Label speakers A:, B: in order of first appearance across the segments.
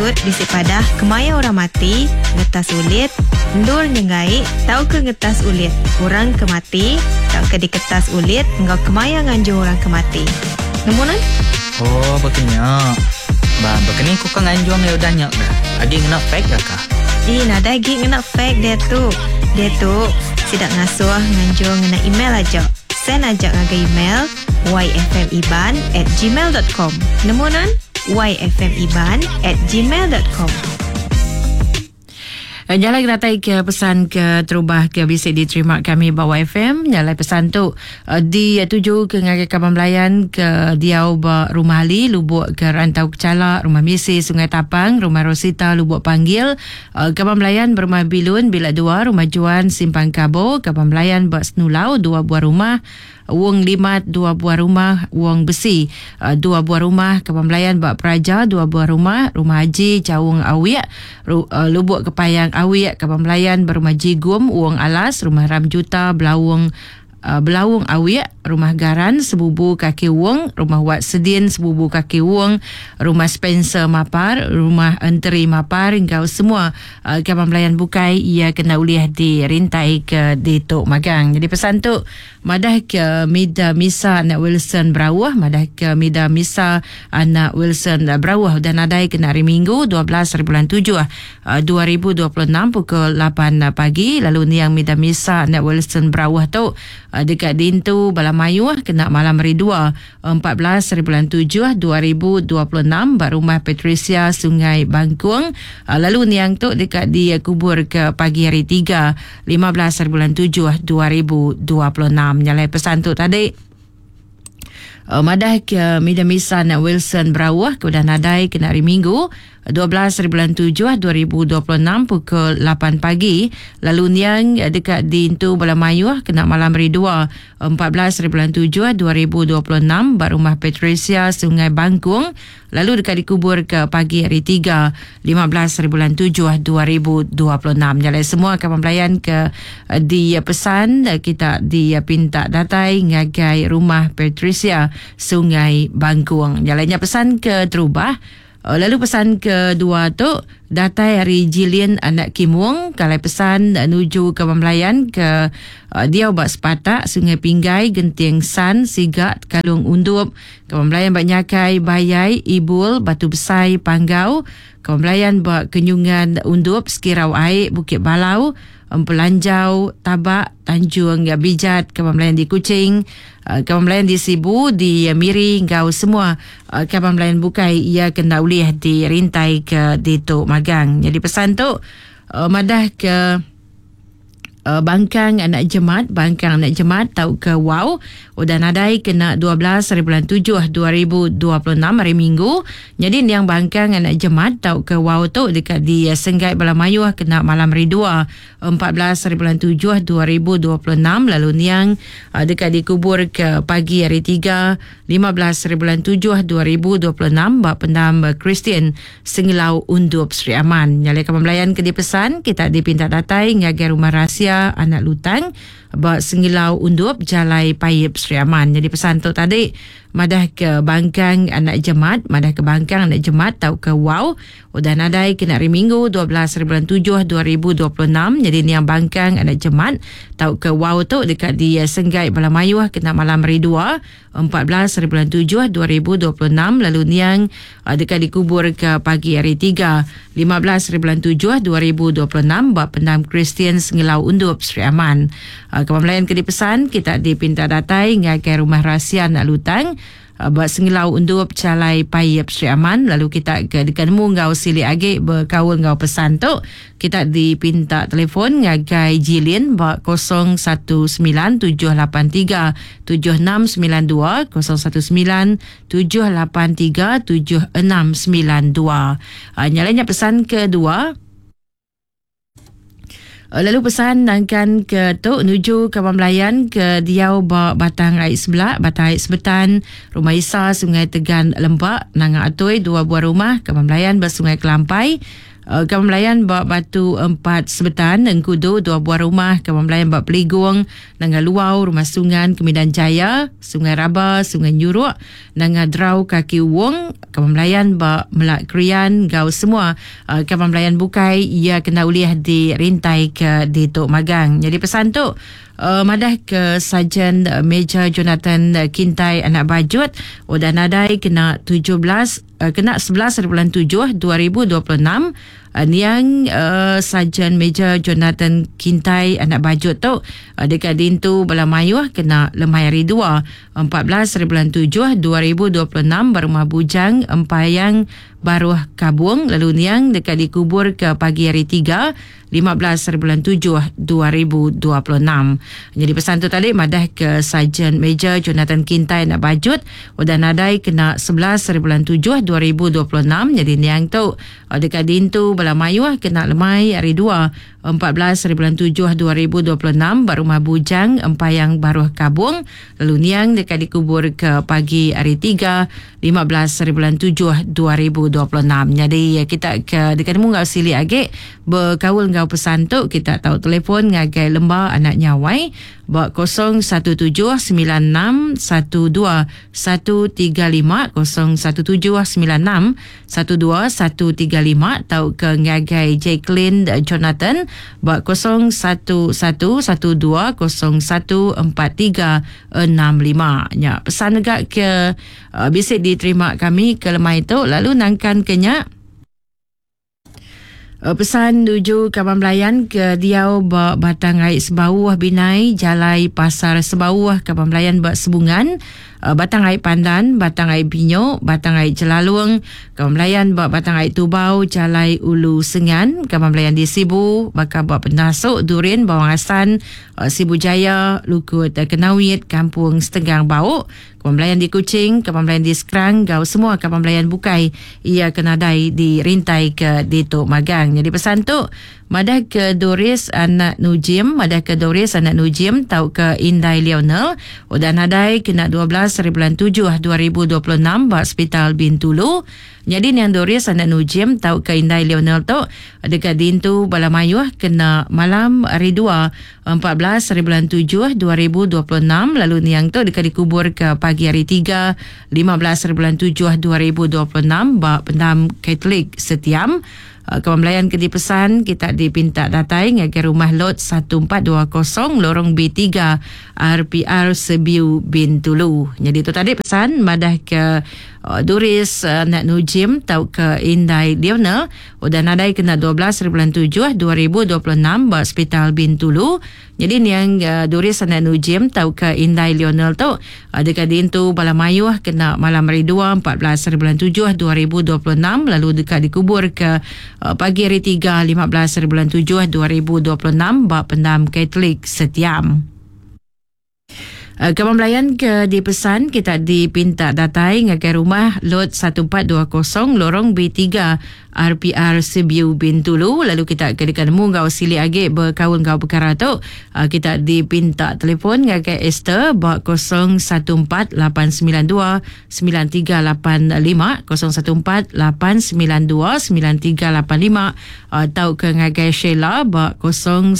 A: patut bisi padah kemaya orang mati, ngetas ulit, endur nyenggai tauka ngetas ulit orang ke mati tauka diketas ulit enggau kemaya nganjung orang ke mati. Nemu nuan?
B: Oh, baka nya. Ba, baka ni ku ka nganjung iya udah nya kah? Agi ngena fax ga kah?
A: Ih, nadai agi ngena fax diatu. Diatu, sida ngasuh nganjung ngena email aja. Send aja ngagai email yfmiban at gmail dot com. Nemu nuan? yfmiban at gmail dot com.
C: Nya alai datai ke pesan ke terubah ke bisi diterima kami ba YFM. Nya alai pesan tu dituju ke ngagai kaban belayan ke diau ba Rumah Ali, Lubok ke Rantau Kechala, Rumah Misi Sungai Tapang, Rumah Rosita Lubok Panggil, kaban belayan ba Rumah Bilun Bila Dua, Rumah Juan Simpang Kabo, kaban belayan ba Senulau dua buah rumah, Wong Limat dua buah rumah, Wong Besi dua buah rumah, Kaban Belayan ba Peraja dua buah rumah, Rumah Haji Chaung Awik, Lubuk Kepayang Awik, Kaban Belayan ba Rumah Jigum, Wong Alas, Rumah Ram Juta Belaung Belaung Awik, Rumah Garan Sebubu Kaki Wong, Rumah Wat Sedin Sebubu Kaki Wong, Rumah Spencer Mapar, Rumah Enteri Mapar enggau semua kaban belayan bukai iya kena ulih dirintai ke ditu magang. Jadi pesan tu Madah ke Mida Misa anak Wilson Berauh Madah ke Mida Misa anak Wilson Berauh udah nadai kena hari Minggu 12 hari bulan tujuh 2026 pukul lapan pagi lalu niang Mida Misa anak Wilson Berauh tu deka diintu bala mayuh kena malam hari Dua 14 hari bulan tujuh 2026 ba Rumah Patricia Sungai Bangkung lalu niang tu deka dikubur ke pagi hari Tiga 15 hari bulan tujuh 2026. Nya alai pesan tu tadi madah ke Mida Misan Wilson Berauh ke udah nadai kena hari Minggu 12 hari bulan 7 2026 pukul 8 pagi lalu niang deka diintu bala mayuh kena malam hari 2 14 hari bulan 7 2026 ba Rumah Patricia Sungai Bangkung lalu deka dikubur ke pagi hari 3 15 hari bulan 7 2026. Nya alai semua kaban belayan ke dipesan kita dipinta datai ngagai Rumah Patricia Sungai Bangkung. Nya alai nya pesan ke terubah. Lalu pesan kedua tu datai ari Jilin anak Kimung ke alai pesan nuju ke Belayan ke diau ba Sepatak, Sungai Pinggai, Genting San, Siga, Tekalung Undup, ke Belayan ba Nyakai, Bayai, Ibul, Batu Besai, Panggau, ke Belayan ba Kenyungan Undup, Sekirau Ai, Bukit Balau, Empelanjau, Tabak, Tanjung Bijat, Kaban Belayan di Kuching, Kaban Belayan di Sibu, di Miri enggau semua kaban belayan bukai iya ke enda ulih dirintai ke ditu magang. Nyadi pesan tu madah ke Bangkang anak Jemat, Bangkang anak Jemat tauka Wau udah nadai kena 12 hari bulan 7 2026 hari Minggu. Nyadi niang Bangkang anak Jemat tauka Wau tu deka disenggai bala mayuh kena malam hari Dua, 14 hari bulan 7 2026 lalu niang deka dikubur ke pagi hari Tiga, 15 hari bulan 7 2026 ba Pendam Kristian Sengelau Undup Sri Aman. Nya alai kaban belayan ke dipesan kita dipinta datai ngagai Rumah Rahsia Anak Lutang ba Sengelau Undup Jalai Paip Sri Aman. Nyadi pesan tu tadi madah ke Bangkang Anak Jemat, madah ke Bangkang Anak Jemat tauka Wau udah nadai kena hari Minggu 12 hari bulan 7 2026. Nyadi niang Bangkang Anak Jemat tauka Wau tu deka disenggai bala mayuh kena malam hari Dua 14 hari bulan 7 2026 lalu niang deka dikubur ke pagi hari Tiga 15 hari bulan 7 2026 ba Pendam Kristian Sengelau Undup Sri Aman. Kaban belayan ke dipesan kita dipinta datai ngagai Rumah Rahsia Anak Lutang ba Sengelau Undup Chalai Paip Sri Aman lalu kita ke deka nemu enggau silik agi bekaul enggau pesan tu kita dipinta telefon ngagai Jilin ba 019 783 7692 019 783 7692. Nya alai nya pesan kedua. Lalu pesan nangkan ke tu nuju kaban belayan ke diau ba Batang Ai Sebelak, Batang Ai Sebetan, Rumah Isa, Sungai Tegan Lempa, Nanga Atoi, dua buah rumah kaban belayan ba Sungai Kelampai. Kaban belayan ba Batu 4 Sebetan, Engkudu, 2 buah rumah, kaban belayan ba Peligung, Nanga Luau, Rumah Sungan, Kemidan Jaya, Sungai Raba, Sungai Nyuruk, Nanga Drau, Kaki Wong, kaban belayan ba Melak Krian, gau semua kaban belayan bukai ia kena ulih dirintai ke ditu magang. Jadi pesan tu madah ke Sarjan Major Jonathan Kintai anak Bajut udah nadai kena 17 kena 11 bulan 7 2026. Niang Sarjan Major Jonathan Kintai anak Bajut tu dekat dintu bala mayuh kena lemai hari 2 14 bulan 7 2026 berumah Bujang Empayang Baruh Kabung, lalu niang dekat dikubur ke pagi hari 3 15 bulan 7 2026. Jadi pesan tu tadi madah ke Sarjan Major Jonathan Kintai nak Bajut udah nadai kena 11 bulan 7 2026. Jadi niang tu dekat dintu bala mayuh kena lemai hari 2 14 bulan 7 2026 ba rumah Bujang Empayang Baruh Kabung, lalu niang dekat dikubur ke pagi hari 3 15 bulan 7 2026. Jadi kita ke dekat nemu ngau silik agi berkaul ngau pesan tu, kita tahu telefon ngagai lemba anak nyawai ba 017 96 12 135, 017 96 12 135, tau ke ngagai Jacqueline Jonathan ba 011 12 01 43 65. Nya pesan juga ke bisa diterima kami ke lemai tu, lalu nangkan kenya pesan tuju kaban belayan ke diau ba Batang Ai Sebauh Binai, Jalai Pasar Sebauh, kaban belayan ba Sebungan, Batang Ai Pandan, Batang Ai Binyo, Batang Ai Jelalung, kaban belayan ba Batang Ai Tubau, Jalai Ulu Sengan, kaban belayan di Sibu, baka ba Penasuk, Durin, Bawang Asan, Sibu Jaya, Lukut Kenawit, Kampung Setenggang Bau, kaban belayan di Kuching, kaban belayan di Skrang, gau semua kaban belayan bukai ia kenadai di rintai ke ditu magang. Jadi pesan tu madah ke Doris anak Nujim, madah ke Doris anak Nujim tau ke Indai Lionel udah nadai kena 12 bulan 7 2026 ba Hospital Bintulu. Jadi niang Doris anak Nujim tau ke Indai Lionel tu dekat dintu bala mayuh kena malam hari 2 14 bulan 7 2026, lalu niang tu dekat dikubur ke pagi hari 3 15 bulan 7 2026 ba Pendam Katolik Setiam. Kawan belayan ke dipesan kita dipinta datai ngagai rumah lot 1420 lorong B3 RPR Sebiu Bintulu. Jadi tu tadi pesan madah ke Doris anak Nujim tau ke Indai Lionel udah nadai kena 12 bulan 7 2026 ba Hospital Bintulu. Jadi niang Doris anak Nujim tau ke Indai Lionel tu dekat dintu bala mayuh kena malam hari 2 14 bulan 7 2026, lalu dekat dikubur ke pagi hari 3 15 bulan 7 2026 ba Pendam Katolik Setiam. Kaban belayan ke dipesan kita dipinta datai ngagai rumah lot 1420 lorong B3 RPR Sibiu Bintulu, lalu kita ke dekat nemu ngau silik agi berkaul ngau perkara tu. Kita dipinta telefon ngagai Esther ba 014 892 9385, 014 892 9385, atau ke ngagai Sheila ba 019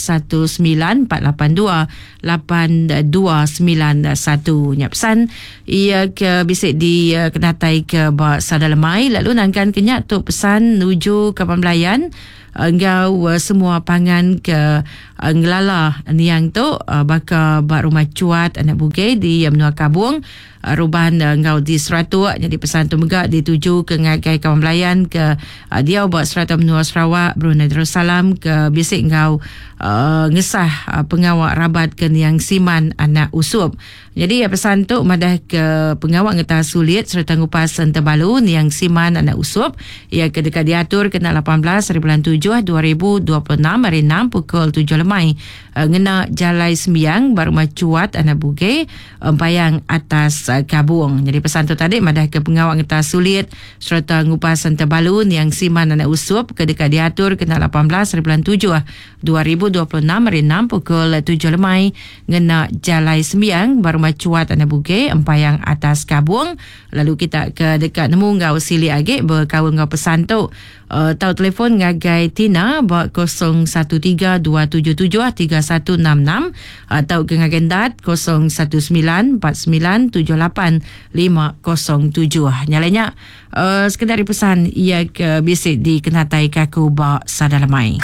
C: 482 8291. Nya pesan ia ke bisik di kenatai ke ba Sadalemai, lalu nangkan kenyak tu pesan nuju ke pembelayan enggau semua pangan ke ngelala niang tu baka ba rumah Cuat anak Buge di Menua Kabung, Ruban enggau di Seratuk. Jadi pesan tu mega dituju ke ngagai kawan belayan ke dia ba serata menua Sarawak, Brunei Darussalam ke bisik enggau ngesah pengawak rabat ke niang Siman anak Usup. Jadi pesan tu madah ke pengawak ngetah sulit serta ngupas entebalu niang Siman anak Usup ia ke dekat diatur kena 18 bulan 7 2026 hari 6 pukul 7 lemai ngena Jalai Sembiang baru Cuat anak Buge Empayang atas Kabung. Jadi pesan tu tadi madah ke pengawak ngetah sulit serta ngupas entebalu niang Siman anak Usup ke dekat diatur kena 18 bulan 7 2026 hari 6 pukul 7 lemai ngena Jalai Sembiang baru Cuat anak Buge Empayang atas Kabung. Lalu kita ke dekat nemu ngau silik agi berkaul ngau pesan tu. Tau telefon ngagai Tina ba 013 277 3166 atau ke ngagai Endat 019 4978 507. Nyalanya sekedar pesan ia ke bisi dikenatai ke aku ba Sada Lemai.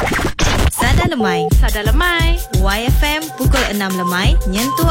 A: Sada Lemai.
C: Sada Lemai.
A: YFM pukul 6 lemai nyentuk.